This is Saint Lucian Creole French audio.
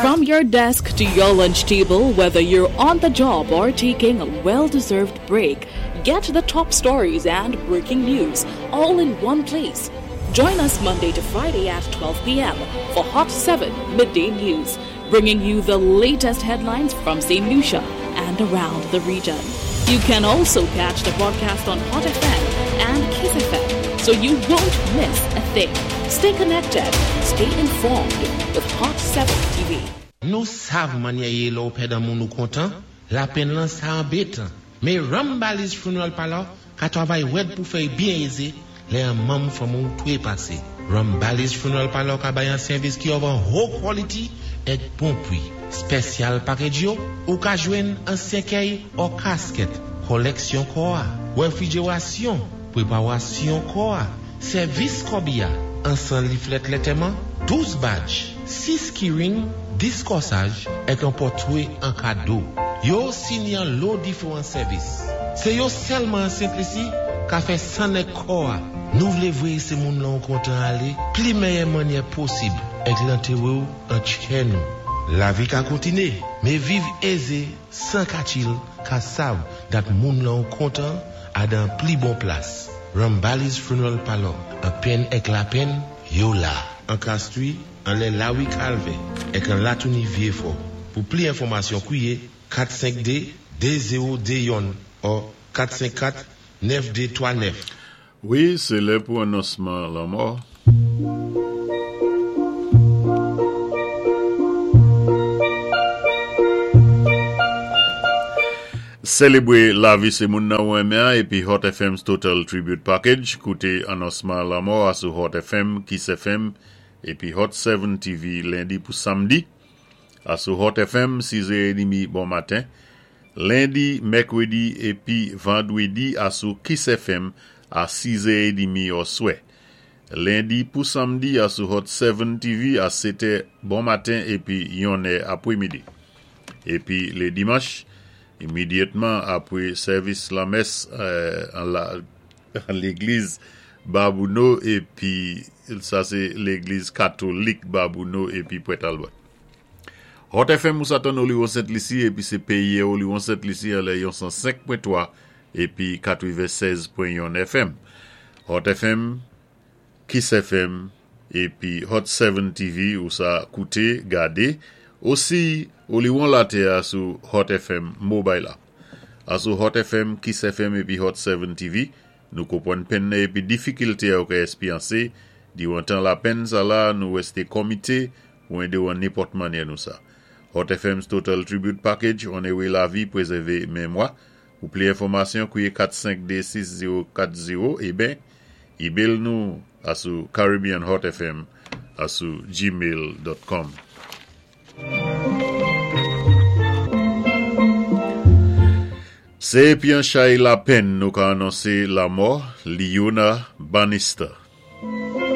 From your desk to your lunch table, whether you're on the job or taking a well deserved break, get the top stories and breaking news all in one place. Join us Monday to Friday at 12 p.m. for Hot 7 Midday News, bringing you the latest headlines from St. Lucia and around the region. You can also catch the broadcast on Hot FM and Kiss FM, so you won't miss a thing. Stay connected, stay informed with Hot 7 TV. Nou sav mannyè yé lè ou pèd an moun ou kontan, lapenn lan sa anbétan. Mé Rambali's Funeral Parlor ka twavay wèd pou fè y byen ézé lè an manm fanmi w twépasé. Rambali's Funeral Parlor ka bay an sèvis ki of an ho quality èk bon pwi. Spèsyal package yo, ou ka jwenn an sèkèy or casket, kòlèksyon kò a, wèfrijerasyon, pwépawasyon kò a, sèvis kòbi a, ansan liflèt lètèman, 12 badge, 6 keyring, 10 kòsaj, èk an pòtwé an kado. Yo sini an lo diféwan sèvis. Sé yo sèlman an Sent Lisi ka fè sann èk kò a. Nou vlé vwéyé sé moun lan ou kontan alé pli mèyè mannyè posib èk lantéwé w an tchè nou. Lavi ka kontiné, mé viv ézé 100 ka chill ka sav dat moun lan ou kontan a dan pli bon plas. Rambali's Funeral Parlor, an penn èk lapenn, yo la. An Castries, anlè Lawi Kalvè, èk an Latouni Vyéfò. Pou pli enfòmasyon kwiyé 452 2021 or 454 9239. Wi, sé lè pou anonsman lanmò. Sélébwé lavi sé moun nan ou renmen an épi Hot FM's Total Tribute Package. Kouté anonsman lanmò a sou Hot FM, Kiss FM épi Hot 7 TV lendi pou samdi a sou Hot FM 6 è édmi bon maten. Lendi, mèkwédi épi vandwédi a sou Kiss FM a 6 è édmi òswè. Lendi pou samdi a sou Hot 7 TV a 7 è bon maten épi 1 è apwémidi. Épi lé dimanch, imidyatman apwé sèvis lanmès an la légliz Babouno épi sa sé légliz katolik Babouno épi Pwèt Albert. Hot FM ou sa tann Oliwon Sent Lisi épi sé péyé Oliwon Sent Lisi anlè yon 105.3 épi 96.1 FM. Hot FM, Kiss FM épi Hot 7 TV ou sa kouté, gadé, osi Oliwon Latè a sou Hot FM Mobile App. A sou Hot FM, Kiss FM épi Hot 7 TV, nou konpwann penn nan épi difikilté a ou ka èspyansé diwan tan lapenn sa la nou wèsté kòmité pou édé ou an nenpòt mannyè nou sa. Hot FM's Total Tribute Package, Onéré Lavi, Prézèvé Mémwa. Pou pli enfòmasyon, kwiye 452 6040 eben email nou a sou caribbeanhotfm a sou gmail.com. Sé épi an chay lapenn nou ka anonsé lamò Leona Bannister.